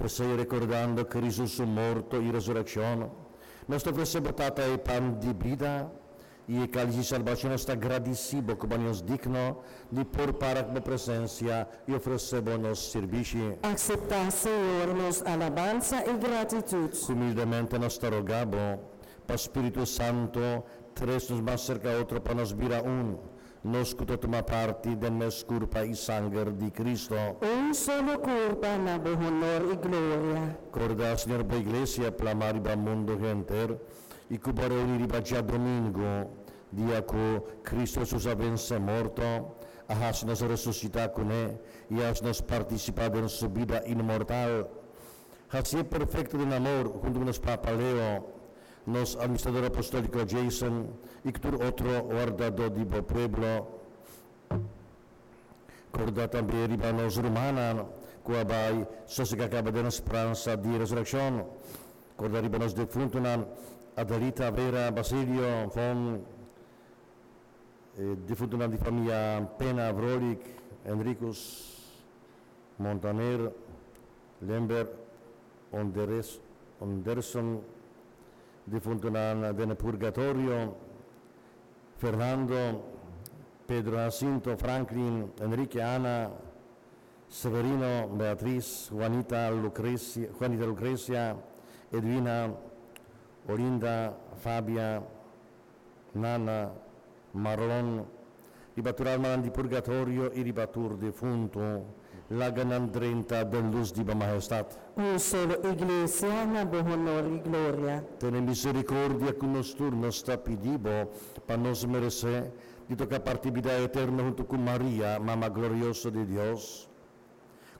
P'esei, rekordando Kristu su morto i resurekshon, nos ta ofresé bo, Tata, e pan di bida i e kális di salbashon. Nos ta gradisí bo ku bo a haña nos digno di por para ku bo presensia i ofresé bo nos sirbishi. Akseptá, Señor, nos alabansa i gratitut. Humildemente nos ta roga bo, pa Spiritu Santu trese nos mas serka otro pa nos bira un, nos ku ta tuma parti den mes kurpa i sanger di Kristu. Un solo kurpa na bo honor i gloria. Kòrda, Señor, bo Iglesia plamá riba mundu henter i ku bo a reuní riba djadumingu, dia ku Kristu Hesus a vense morto, a hasi nos resusitá kuné i a hasi nos partisipá den su bida inmortal. Hasié perfekto den amor huntu ku nos Papa Leo, nos Administrador Apostóliko Jason i ku tur otro wardadó di bo pueblo. Kòrda tambe riba nos rumannan ku a bai sosegá kaba den speransa di resurekshon. Kòrda riba nos defuntunan, Adelita, Vera, Basilio, Von, e defuntunan di famia Pena, Vrolijk, Henricus, Montaner, Lembert, Onderes, Onderson, defuntunan den purgatorio, Fernando, Pedro Jacinto, Franklin, Enrique, Ana, Severino, Beatriz, Juanita, Lucrecia, Juanita Lucrecia, Edwina, Olinda, Fabia, Nana, Marlon, riba tur almanan di purgatorio i riba tur defuntu, laga nan drenta den lus di bo mahestat. Un solo Iglesia na bo honor i gloria. Tene misericordia ku nos tur, nos ta pidi bo, pa nos meresé di toka parti bida eterno huntu ku Maria, Mama glorioso di Dios,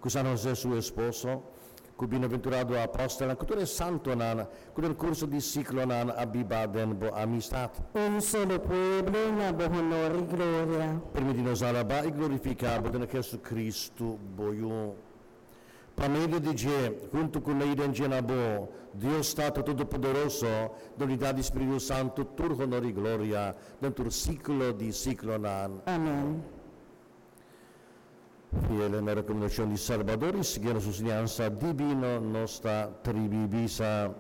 ku San José su esposo, ku bienaventurado apòstelnan, ku tur e santonan ku den kurso di siklonan a biba den bo amistat. Un solo pueblo na bo honor i gloria. Permití nos alabá i glorifiká bo den Jesucristo, bo Yu. Pa medio di dje, huntu ku ne i den dje na bo, Dios Tata Todopoderoso, den unidat di Spiritu Santu, tur honor i gloria den tur siklo di siklonan. Amèn. Fiel na rekomendashon di Salbador i siguiendo su siñansa dibino, nos ta tribi bisa,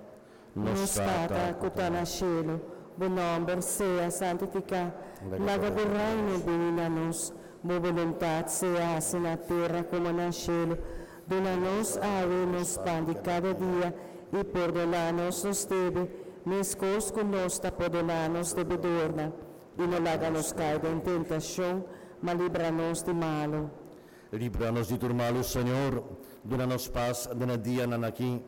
Nos Nos Tata ku ta na shelu, bo nòmber sea santifiká. Laga bo Reino bini na nos. Bo boluntat sea hasi na tera komo na shelu. Duna nos awe nos pan di kada dia, i pordoná nos nos debe, meskos ku nos ta pordoná nos debedornan. I no laga nos kai den tentashon, ma libra nos di malu. Libra nos di tur malu, Señor. Duna nos pas den e dianan aki.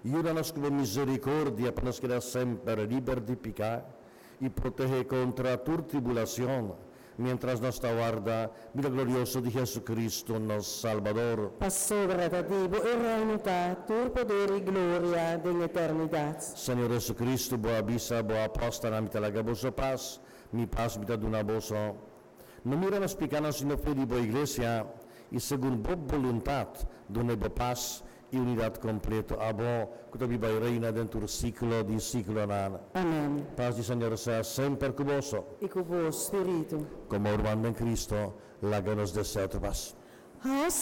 Yuda nos ku bo misericordia pa nos keda semper liber di piká i protehé kontra tur tribulacion, miéntras nos ta warda bida glorioso di Jesucristo, nos Salbador. Pasobra ta di bo e reino ta, tur poder i gloria den eternidat. Señor Jesucristo, bo a bisa bo apòstelnan, Mi ta laga boso pas, mi pas mi ta duna boso. No mira nos pikánan sino fe di bo iglesia, i segun bo boluntat dun'é bo pas i unidat kompleto, abo ku ta biba i reina den tur siklo di siklonan. Amèn. Pas di Señor sea semper ku boso. I ku bo spiritu. Komo ruman den Kristo, laga nos desea otro pas. Has.